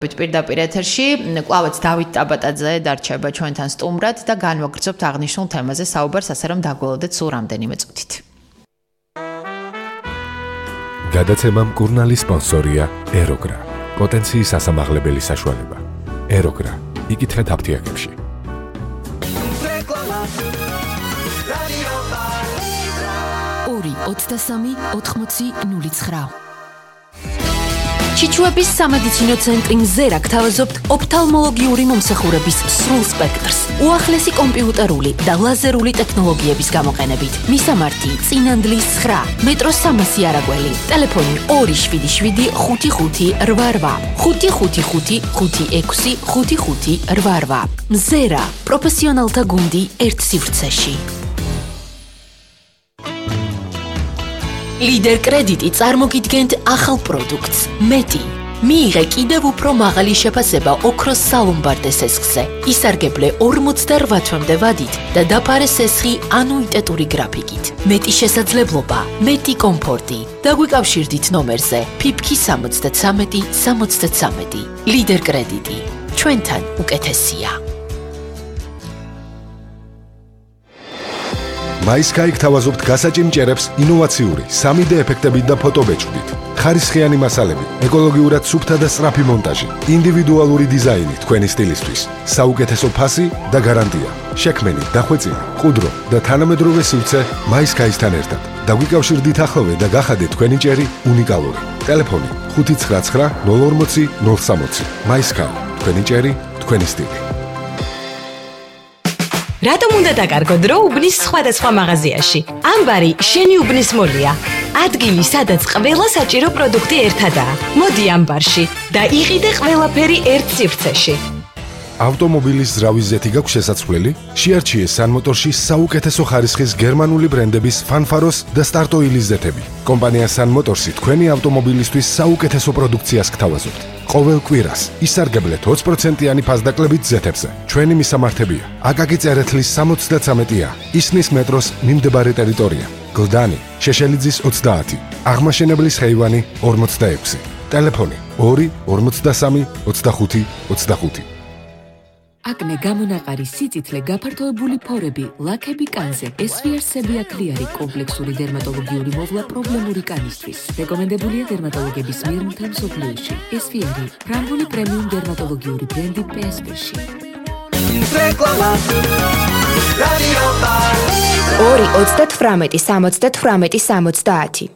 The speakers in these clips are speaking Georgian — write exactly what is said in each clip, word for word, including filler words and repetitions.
პირდაპირ ეთერში კვლავაც დავით ტაბატაძე დარჩება ჩვენთან სტუმრად და განვაგრძობთ აღნიშნულ თემაზე საუბარს, ასე რომ დაგველოდეთ სულ რამდენიმე წუთით. გადაცემა მკურნალი სპონსორია ეროგრა. პოტენციის ასამაღლებელი საშუალება. ეროგრა. იკითხეთ აფთიაქებში. ორი ოცდასამი ოთხმოცი ნული ცხრა. ჩიჩუების სამედიცინო ცენტრი მზერა გთავაზობთ ოფთალმოლოგიური მომსახურების სრულ სპექტრს, უახლესი კომპიუტერული და ლაზერული ტექნოლოგიების გამოყენებით. მისამართი: წინანდლის ცხრა, მეტროს სამასი არაგველი, ტელეფონი ორი შვიდი შვიდი ხუთი ხუთი რვა რვა, ხუთი ხუთი ხუთი ხუთი ექვსი ხუთი ხუთი რვა რვა. მზერა, პროფესიონალთა გუნდი ერთ სივრცეში. ლიდერ კრედიტი წარმოგიდგენთ ახალ პროდუქტს მეტი. მიიღე კიდევ უფრო მაღალი შეფასება ოქროს სალომბარდე სესხზე. ისარგებლე ორმოცდარვა თვემდე ვადით და დაფარე სესხი ანუიტეტური გრაფიკით. მეტი შესაძლებლობა, მეტი კომფორტი. დაგვიკავშირდით ნომერზე ფიფქი სამოცდათრამეტი სამოცდათრამეტი. ლიდერ კრედიტი. ჩვენთან უკეთესია. MySky გთავაზობთ გასაჭიმჭერებს ინოვაციური სამი დე ეფექტებით და ფოტობეჭდით. ხარისხიანი მასალები, ეკოლოგიურად სუფთა და სწრაფი მონტაჟი, ინდივიდუალური დიზაინი თქვენი სტილისთვის, საუკეთესო ფასი და გარანტია. შექმენი, დახვეწილი, ყუდრო და თანამედროვე სივრცე MySky-სთან ერთად. დაგვიკავშირდით ახლოვე და გახადეთ თქვენი ჭერი უნიკალური. ტელეფონი ხუთი ცხრა ცხრა ნული ორმოცი ნული სამოცი. MySky, თქვენი ჭერი, თქვენი სტილი. რატომ უნდა დაკარგო დრო უბნის სხვადასხვა მაღაზიაში? ამბარი შენი უბნის მოლია. ადგილი, სადაც ყველა საჭირო პროდუქტი ერთადაა. მოდი ამბარში და იყიდე ყველაფერი ერთ სივრცეში. ავტომობილის ზრავის ზეთი გაქვს შესაძლებელი? შეარჩიე სანმოტორში საუკეთესო ხარისხის გერმანული ბრენდების ფანფაროს და სტარტოილის ზეთები. კომპანია სანმოტორსი თქვენი ავტომობილისთვის საუკეთესო პროდუქციას გთავაზობთ. ყოველ კვირას ისარგებლეთ ოცი პროცენტიანი ფასდაკლებით ზეთებზე. ჩვენი მისამართებია: აკაკი წერეთლის სამოცდათრამეტი ა, ისნის მეტროს მიმდებარე ტერიტორია, გლდანი, შეშელიძის ოცდაათი, აღმაშენებლის ხეივანი ორმოცდაექვსი, ტელეფონი ორი ორმოცდასამი ოცდახუთი ოცდახუთი. აკნე, გამონაყარი, სიწითლე, გაფართოებული ფორები, ლაქები კანზე, ესვიარსები აკლიარი, კომპლექსური დერმატოლოგიური მოვლა პრობლემური კანისთვის. რეკომენდებულია დერმატოლოგების მიერ მთელ მსოფლიოში. ესვიარი, ფრანგული პრემიუმ დერმატოლოგიური ბრენდი პი ეს პი-ში. ორი ოცდათვრამეტი სამოცდათვრამეტი სამოცდაათი.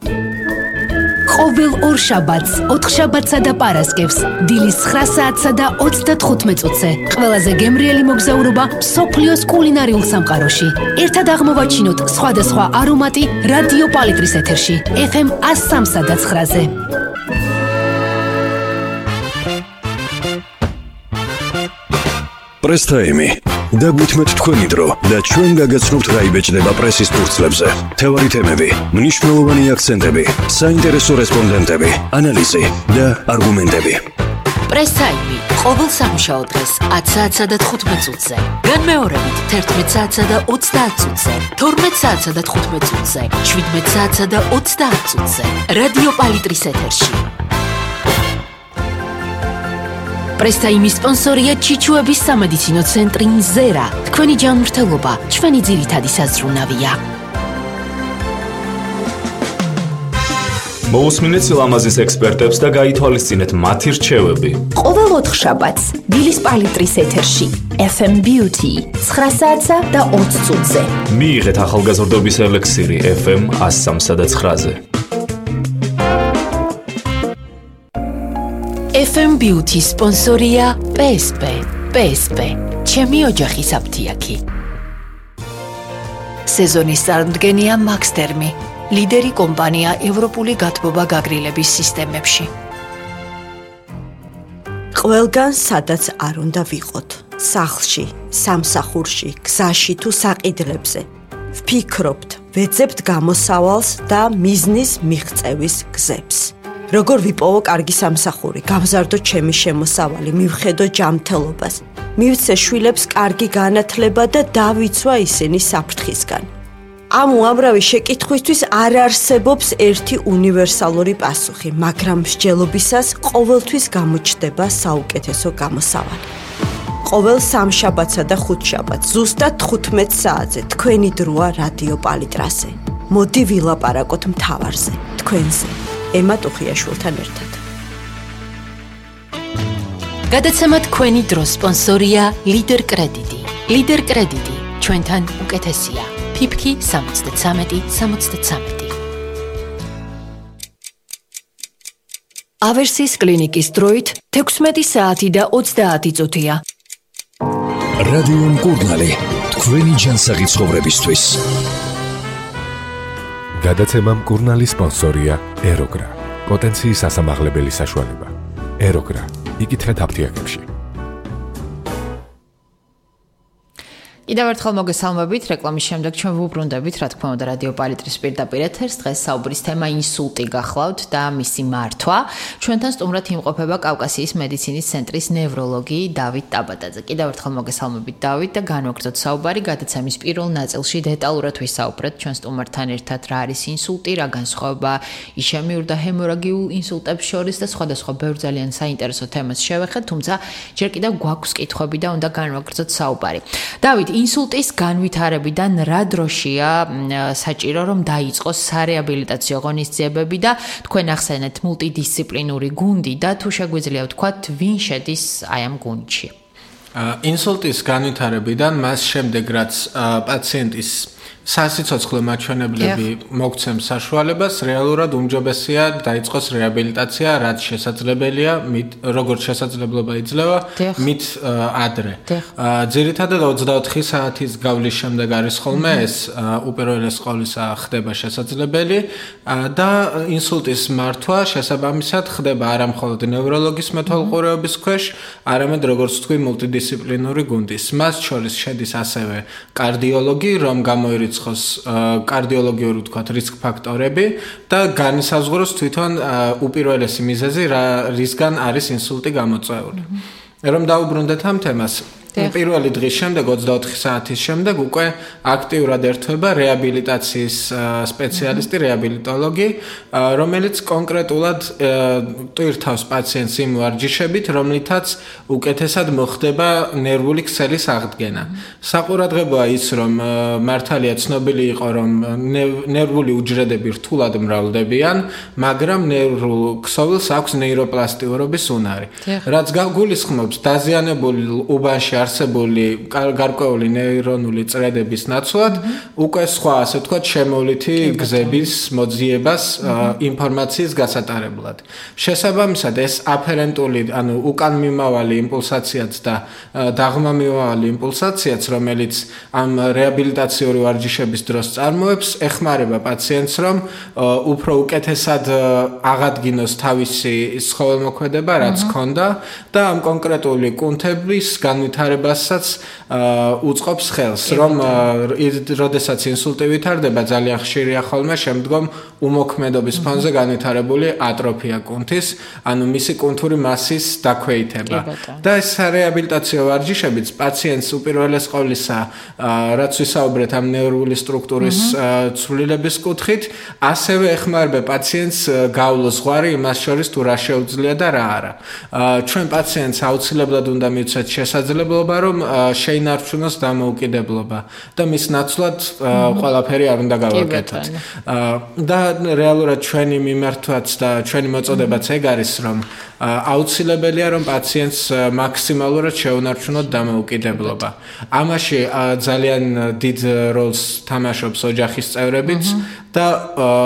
ყოველ ორ შაბათს, ოთხშაბათსა და პარასკევს, დილის ცხრა საათსა და ოცდათხუთმეტ წუთზე, ყველაზე გემრიელი მოგზაურობა მსოფლიოს კულინარიულ სამყაროში. ერთად აღმოვაჩინოთ სხვადასხვა არომატი რადიო პალიტრის ეთერში, ეფ ემ ას სამსა და ცხრაზე. პრესტაიმი. დაგვითმეთ თქვენი დრო და ჩვენ გაგაცნობთ რა იბეჭდება პრესის ფურცლებზე. თევარი თემები, მნიშვნელოვანი აქცენტები, საინტერესო რესპონდენტები, ანალიზი და არგუმენტები. პრესაიმი ყოველ სამუშაო დღეს ათი საათსა და თხუთმეტ წუთზე. განმეორებით თერთმეტ საათსა და ოცდაათ წუთზე, თორმეტ საათსა და თხუთმეტ წუთზე, შვიდმეტ საათსა და ოცდაათ წუთზე. რადიო პალიტრის ეთერში. პრესტაიმის სპონსორია ჩიჩუების სამედიცინო ცენტრი მზერა. თქვენი ჯანმრთელობა ჩვენი ძირითადი საზრუნავია. მოусმინეთ სილამაზის ექსპერტებს და გაითვალისწინეთ მათი რჩევები. ყოველ ოთხშაბათს დილის პალიტრის ეთერში ეფ ემ Beauty ცხრა საათსა და ოცი წუთზე. მიიღეთ ახალგაზრდობის ელექსირი ეფ ემ ას სამსა და ცხრაზე. ეფ ემ Beauty სპონსორია პი ეს პი. პი ეს პი, ჩემი ოჯახის აფთიაქი. სეზონის წარმომადგენია მაქსტერმი, ლიდერი კომპანია ევროპული გათბობა გაგრილების სისტემებში. ყველგან სადაც არ უნდა ვიყოთ, სახლში, სამსახურში, გზაში თუ საყიდლებზე. ვფიქრობთ, ვეძებთ გამოსავალს და მიზნის მიღწევის გზებს. როგორ ვიპოვო კარგი სამსახური, გავზარდო ჩემი შემოსავალი, მივხედო ჯანმრთელობას, მივცე შვილებს კარგი განათლება და დავიცვა ისინი საფრთხისგან. ამ უამრავი შეკითხვისთვის არ არსებობს ერთი უნივერსალური პასუხი, მაგრამ მსჯელობისას ყოველთვის გამოჩნდება საუკეთესო გამოსავალი. ყოველ სამშაბათსა და ხუთშაბათს ზუსტად თხუთმეტ საათზე თქვენი დროა რადიო პალიტრაზე. მოდი ვილაპარაკოთ მთავარზე, თქვენზე, ემა ტუხიაშვილთან ერთად. გადაცემა თქვენი დროს სპონსორია ლიდერ კრედიტი. ლიდერ კრედიტი ჩვენთან უკეთესია. ფიფქი სამოცდათრამეტი სამოცდათრამეტი. ავერსის კლინიკის დროით თექვსმეტი საათი და ოცდაათი წუთია. რადიო მკურნალი, თქვენი ჯანსაღი ცხოვრებისთვის. გადაცემა მკურნალის სპონსორია ეროგრა. პოტენციის ასამაღლებელი საშუალება. ეროგრა. იკითხეთ აფთიაქებში. კიდევ ერთხელ მოგესალმებით, რეკლამის შემდეგ ჩვენ ვუბრუნდებით, რა თქმა უნდა, რადიო პალიტრის პირდაპირ ეთერს. დღეს საუბრის თემა ინსულტი გახლავთ და მისი მართვა. ჩვენთან სტუმრად იმყოფება კავკასიის მედიცინის ცენტრის ნევროლოგი დავით ტაბატაძე. კიდევ ერთხელ მოგესალმებით, დავით, და განვაგრძოთ საუბარი. გადაცემის პირველ ნაწილში დეტალურად ვისაუბრეთ ჩვენ სტუმართან ერთად, რა არის ინსულტი, რა განსხვავება იშემიურ და ჰემორაგიულ ინსულტებს შორის და სხვადასხვა ბევრ ძალიან საინტერესო თემას შევეხეთ, თუმცა ჯერ კიდევ გვაქვს კითხვები და უნდა განვაგრძოთ საუბარი. დავით, ინსულტის განვითარებიდან რა დროშია საჭირო რომ დაიწყოს სარეაბილიტაციო ღონისძიებები და თქვენ ახსენეთ მულტიდისციპლინური გუნდი და თუ შეგვიძლია ვთქვათ ვინ შედის აი ამ გუნდში? ინსულტის განვითარებიდან მას შემდეგ რაც პაციენტის სასიცოცხლო მაჩვენებლები მოგცემს საშუალებას, რეალურად უმჯობესია დაიწყოს რეაბილიტაცია, რაც შესაძლებელია, როგორც შესაძლებლობა იძლევა, მით ადრე. ძირითადად ოცდაოთხი საათის გავლის შემდეგ არის ხოლმე ეს უპირველეს ყოვლისა ხდება შესაძლებელი და ინსულტის მართვა შესაბამისად ხდება არა მხოლოდ ნევროლოგის მეთვალყურეობის ქვეშ, არამედ როგორც თქვი მულტიდისციპლინური გუნდის. მას შორის შედის ასევე კარდიოლოგი, რომ გამოირიცხოს კარდიოლოგიური ვთქვათ რისკ ფაქტორები და განისაზღვროს თვითონ უპირველესი მიზეზი, რისგან არის ინსულტი გამოწვეული. რომ დაუბრუნდეთ ამ თემას, პირველი დღის შემდეგ ოცდაოთხი საათის შემდეგ უკვე აქტიურად ერთვება რეაბილიტაციის სპეციალისტი, რეაბილიტოლოგი, რომელიც კონკრეტულად ტვირთავს პაციენტს იმ ვარჯიშებით, რომლითაც უკეთესად მოხდება ნერვული ქსელის აღდგენა. საყურადღებოა ის, რომ მართალია ცნობილი იყო, რომ ნერვული უჯრედები რთულად მრავლდებიან, მაგრამ ნერვულ ქსოვილს აქვს ნეიროპლასტიურობის უნარი. რაც გულისხმობს დაზიანებული უბანში არსებული გარკვეული ნეირონული წრედების ნაცვლად უკვე სხვა, ასე ვთქვათ, შემოვლითი გზების მოძიებას ინფორმაციის გასატარებლად. შესაბამისად, ეს აფერენტული, ანუ უკანმიმავალი იმპულსაციაც და დაღმამიმავალი იმპულსაციაც, რომელიც ამ რეაბილიტაციური ვარჯიშების დროს წარმოებს, ეხმარება პაციენტს, რომ უფრო უკეთესად აღადგინოს თავისი ცხოველმოქმედება, რაც ჰქონდა და ამ კონკრეტული კუნთების განვითარება ბასაც უწყობს ხელს, რომ როდესაც ინსულტი ვითარდება, ძალიან ხშირია ხოლმე შემდგომ უმოქმედობის ფონზე განვითარებული ატროფია კუნთის, ანუ მისი კუნთური მასის დაქვეითება. და ეს რეაბილიტაციო ვარჯიშებიც პაციენტს უპირველეს ყოვლისა, რაც ვისაუბრეთ ამ ნევრული სტრუქტურის ცვლილების კუთხით, ასევე ეხმარება პაციენტს გავლოს ზღვარი იმას შორის თუ რა შეუძლია და რა არა. ჩვენ პაციენტს აუცილებლად უნდა მივცეთ შესაძლებლობა რომ შეინარჩუნოს დამოუკიდებლობა და მის ნაცვლად ყველაფერი არ უნდა გავაკეთოთ. და რეალურად ჩვენი მიმართვაც და ჩვენი მოწოდებაც ეგ არის, რომ აუცილებელია რომ პაციენტს მაქსიმალურად შეუნარჩუნოთ დამოუკიდებლობა. ამაში ძალიან დიდ როლს თამაშობს ოჯახის წევრებიც და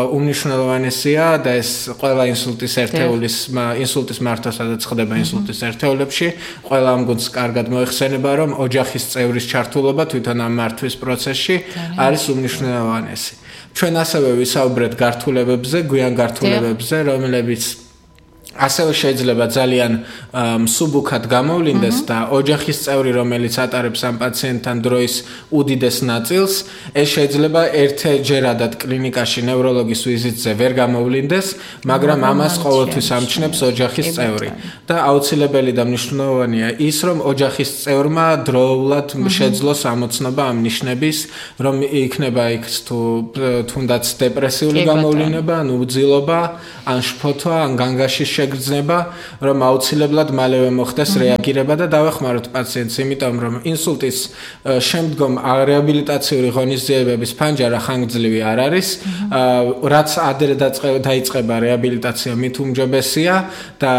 უმნიშვნელოვანესია და ეს ყველა ინსულტის ერთეულის ინსულტის მართვა, სადაც ხდება ინსულტის ერთეულებში, ყველა ამ გუნდს კარგად მოიხსენება, რომ ოჯახის წევრის ჩართულობა თვითონ ამ მართვის პროცესში არის უმნიშვნელოვანესი. ჩვენ ასევე ვისაუბრეთ გართულებებზე, გვიან გართულებებზე, რომლებიც ასევე შეიძლება ძალიან მსუბუქად გამოვლინდეს და ოჯახის წევრი, რომელიც ატარებს ამ პაციენტთან დროის უდიდეს ნაწილს, ეს შეიძლება ერთჯერადად კლინიკაში ნევროლოგის ვიზიტზე ვერ გამოვლინდეს, მაგრამ ამას ყოველთვის ამჩნევს ოჯახის წევრი. და აუცილებელი და მნიშვნელოვანია ის, რომ ოჯახის წევრმა დროულად შეძლოს ამოცნობა ამ ნიშნების, რომ იქნება იქ თუ თუნდაც დეპრესიული გამოვლინება, ან უძილობა, ან შფოთვა, ან განგაშის შეგრძნება, რომ აუცილებლად მალევე მოხდეს რეაგირება და დავეხმაროთ პაციენტს, იმიტომ რომ ინსულტის შემდგომ რეაბილიტაციური ღონისძიებების ფანჯარა ხანგრძლივი არ არის, რაც ადრე დაიწყება რეაბილიტაცია, მით უმჯობესია და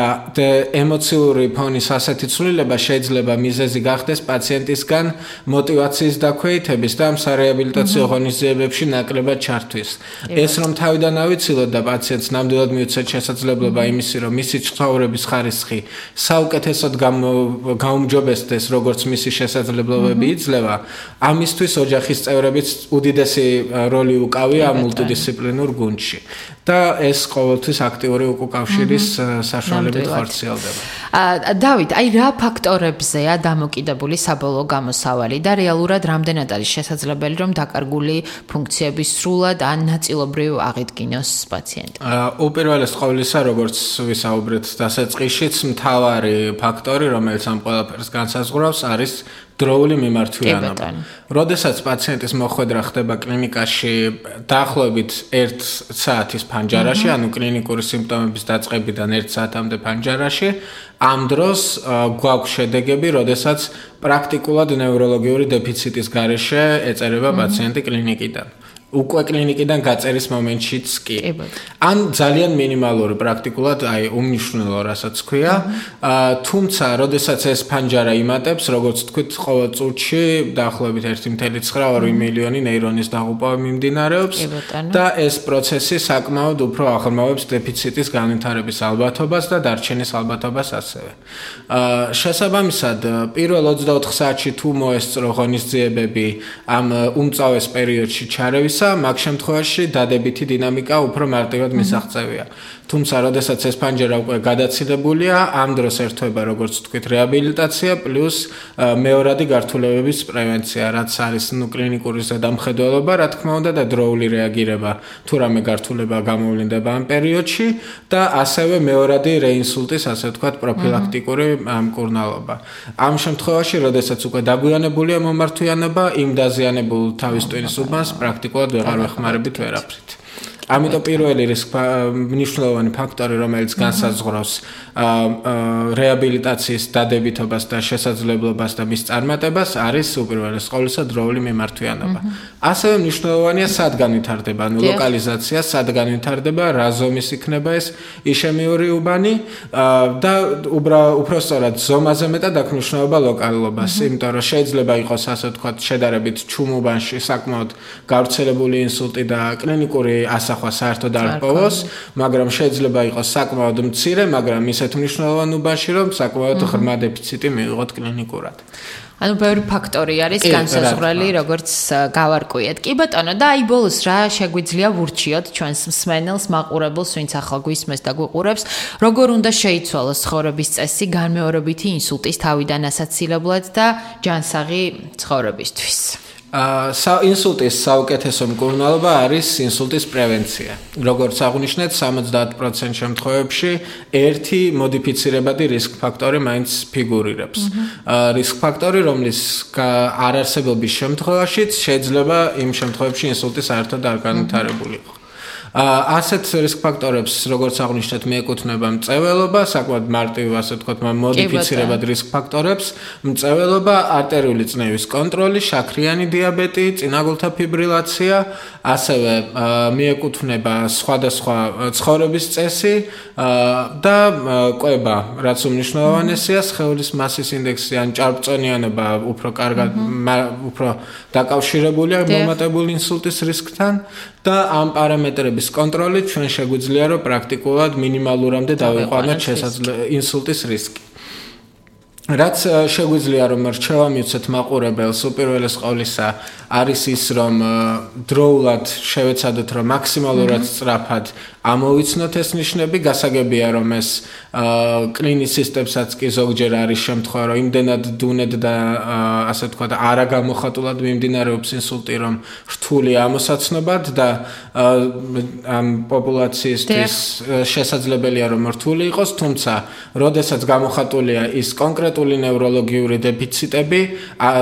ემოციური ფონის ასეთი ცვლილება შეიძლება მიზეზი გახდეს პაციენტისგან მოტივაციის დაქვეითების და ამ სარეაბილიტაციო ღონისძიებებში ნაკლებად ჩართვის. ეს რომ თავიდან ავიცილოთ და პაციენტს ნამდვილად მივცეთ შესაძლებლობა იმისი, რომ მისი ცხოვრების ხარისხი საუკეთესოდ გაუმჯობესდეს, როგორც მისი შესაძლებლობები იძლევა, ამისთვის ოჯახის წევრებიც უდიდესი როლი უკავია ამ მულტიდისციპლინურ გუნდში. და ეს ყოველთვის აქტიური უკავშირის საშუალებით ხორციელდება. დავით, აი რა ფაქტორებზეა დამოკიდებული საბოლოო გამოსავალი და რეალურად რამდენად არის შესაძლებელი, რომ დაკარგული ფუნქციები სრულად ან ნაწილობრივ აღიდგინოს პაციენტი? უპირველეს ყოვლისა, როგორც ვისაუბრეთ დასაწყისშიც, მთავარი ფაქტორი, რომელიც ამ ყველაფერს განსაზღვრავს, არის დროული მიმართვიანობა. როდესაც პაციენტის მოხვედრა ხდება კლინიკაში დაახლოებით ერთ საათის ფანჯარაში, ანუ კლინიკური სიმპტომების დაწყებიდან ერთ საათამდე ფანჯარაში, ამ დროს გვაქვს შედეგები, როდესაც პრაქტიკულად ნევროლოგიური დეფიციტის გარეშე ეწერება პაციენტი კლინიკიდან. უკვე კლინიკიდან გაწერის მომენტშიც კი. ან ძალიან მინიმალური პრაქტიკულად, აი უმნიშვნელო, რასაც ქვია, თუმცა, როდესაც ეს ფანჯარა იმატებს, როგორც თქვით, ყოველ წუთში დაახლოებით ერთი კoma ცხრა მილიონი ნეირონის დაღუპვა მიმდინარეობს და ეს პროცესი საკმაოდ უფრო აღრმავებს დეფიციტის განვითარების ალბათობას და დარჩენის ალბათობას ასევე. შესაბამისად, პირველ ოცდაოთხ საათში თუ მოესწრო ღონისძიებები ამ უმწავეს პერიოდში ჩარევის მაგ შემთხვევაში დადებითი დინამიკა უფრო მარტივად მისაღწევია. თუმცა, როდესაც ეს ფანჯარა უკვე გადაცილებულია, ამ დროს ერთვება, როგორც თქვით, რეაბილიტაცია პლუს მეორადი გართულებების პრევენცია, რაც არის ნუ კლინიკური ზედამხედველობა, რა თქმა უნდა, და დროული რეაგირება, თუ რამე გართულება გამოვლინდება ამ პერიოდში და ასევე მეორადი რეინსულტის, ასე ვთქვათ, პროფილაქტიკური მკურნალობა. ამ შემთხვევაში, როდესაც უკვე დაგვიანებულია მომართვიანობა, იმ დაზიანებულ თავის ტვინის უბანს პრაქტიკულად ვეღარ ვეხმარებით ვერაფრით. ამიტომ პირველი მნიშვნელოვანი ფაქტორი, რომელიც განსაზღვრავს რეაბილიტაციის დადებითობას და შესაძლებლობას და მის წარმატებას, არის უპირველეს ყოვლისა დროული მიმართვიანობა. ასევე მნიშვნელოვანია სად განვითარდება, ანუ ლოკალიზაცია, სად განვითარდება, რა ზომის იქნება ეს იშემიური უბანი და უბრალოდ ზომაზე მეტად აქვს მნიშვნელობა ლოკალობას, იმიტომ რომ შეიძლება იყოს, ასე ვთქვათ, შედარებით ჩუმ უბანში საკმაოდ გავრცელებული ინსულტი და კლინიკური ასახვა საერთოდ არ პოვოს, მაგრამ შეიძლება იყოს საკმაოდ მცირე, მაგრამ ისეთ მნიშვნელოვან უბანში, რომ საკმაოდ ღრმა დეფიციტი მივიღოთ კლინიკურად. ანუ ბევრი ფაქტორი არის განსაზღვრელი, როგორც გავარკვიეთ. კი ბატონო, და აი ბოლოს რა შეგვიძლია ვურჩიოთ ჩვენს მსმენელს, მაყურებელს, ვინც ახლა გვისმენს და გვიყურებს, როგორ უნდა შეიცვალოს ცხოვრების წესი განმეორებითი ინსულტის თავიდან ასაცილებლად და ჯანსაღი ცხოვრებისთვის? ინსულტის საუკეთესო მკურნალობა არის ინსულტის პრევენცია. როგორც აღვნიშნეთ, სამოცდაათ პროცენტ შემთხვევებში ერთი მოდიფიცირებადი რისკ ფაქტორი მაინც ფიგურირებს. რისკ ფაქტორი, რომლის არარსებობის შემთხვევაშიც შეიძლება იმ შემთხვევებში ინსულტი საერთოდ არ განვითარებული იყო. ასეთ რისკ ფაქტორებს, როგორც აღვნიშნეთ, მიეკუთვნება მწვერვალობა, საკმაოდ მარტივი, ასე ვთქვათ, მოდიფიცირებად რისკ ფაქტორებს, მწვერვალობა, არტერიული წნევის კონტროლი, შაქრიანი დიაბეტი, წინაგულთა ფიბრილაცია, ასევე მიეკუთვნება სხვადასხვა ცხოვრების წესი და კვება, რაც უმნიშვნელოვანესია, სხეულის მასის ინდექსი ან ჭარბწონიანობა უფრო კარგად, უფრო დაკავშირებულია მომატებული ინსულტის რისკთან და ამ პარამეტრების კონტროლით ჩვენ შეგვიძლია რომ პრაქტიკულად მინიმალურამდე დავიყვანოთ შესაძლებელი ინსულტის რისკი. რაც შეგვიძლია რომ რჩევა მივცეთ მაყურებელს უპირველეს ყოვლისა არის ის რომ დროულად შევეცადოთ რომ მაქსიმალურად სწრაფად ამოვიცნოთ ეს ნიშნები გასაგებია რომ ეს კლინიცისტებსაც კი ზოგჯერ არის შემთხვევა რომ იმდენად დუნედ და ასე ვთქვათ არა გამოხატულად მიმდინარეობს ინსულტი რომ რთული ამოსაცნობად და ამ პოპულაციისთვის შესაძლებელია რომ რთული იყოს თუმცა როდესაც გამოხატულია ის კონკრეტული ნევროლოგიური დეფიციტები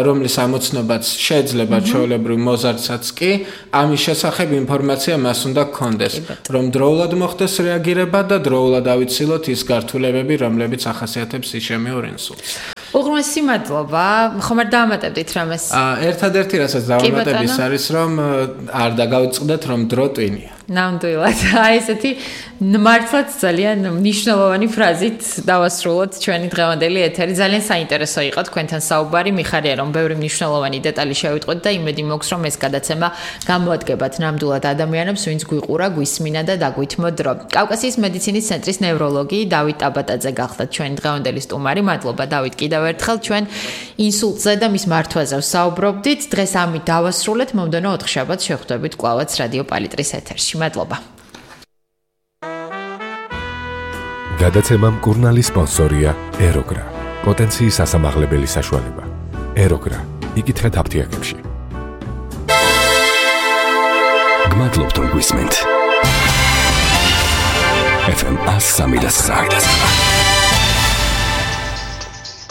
რომლის ამოცნობაც შეიძლება ჩვეულებრივ მოზარდსაც კი ამის შესახებ ინფორმაცია მას უნდა გქონდეს რომ დროულად მოხდეს რეაგირება და დროულად ავიცილოთ ის გართულებები რომლებიც ახასიათებს ისემიურ ინსულტს უღრმესი მადლობა ხომ არ დაამატებდით რამეს ერთადერთი რასაც დავამატების არის რომ არ დაგავიწყდეთ რომ დრო ტვინია ნამდვილად აი ესეთი მართლაც ძალიან მნიშვნელოვანი ფრაზით დავასრულოთ ჩვენი დღევანდელი ეთერი ძალიან საინტერესო იყო თქვენთან საუბარი მიხარია რომ ბევრი მნიშვნელოვანი დეტალი შევიტყვეთ და იმედი მაქვს რომ ეს გადაცემა გამოადგებათ ნამდვილად ადამიანებს ვინც გვიყურა გვისმინა და დაგვითმო დრო კავკასიის მედიცინის ცენტრის ნევროლოგი დავით ტაბატაძე გახლდათ ჩვენი დღევანდელი სტუმარი მადლობა დავით კიდევ ერთხელ ჩვენ ინსულტზე და მის მართვაზე ვსაუბრობდით დღეს ამით დავასრულეთ მომდევნო ოთხშაბათს შევხვდებით კვლავაც რადიო პალიტრის ეთერში მადლობა გადაცემა მკურნალი სპონსორია ეროგრა პოტენციის ასამაღლებელი საშუალება ეროგრა იკითხეთ აფთიაქებში გმადლობთ რომ გვისმენთ ეფ ემ one oh three point nine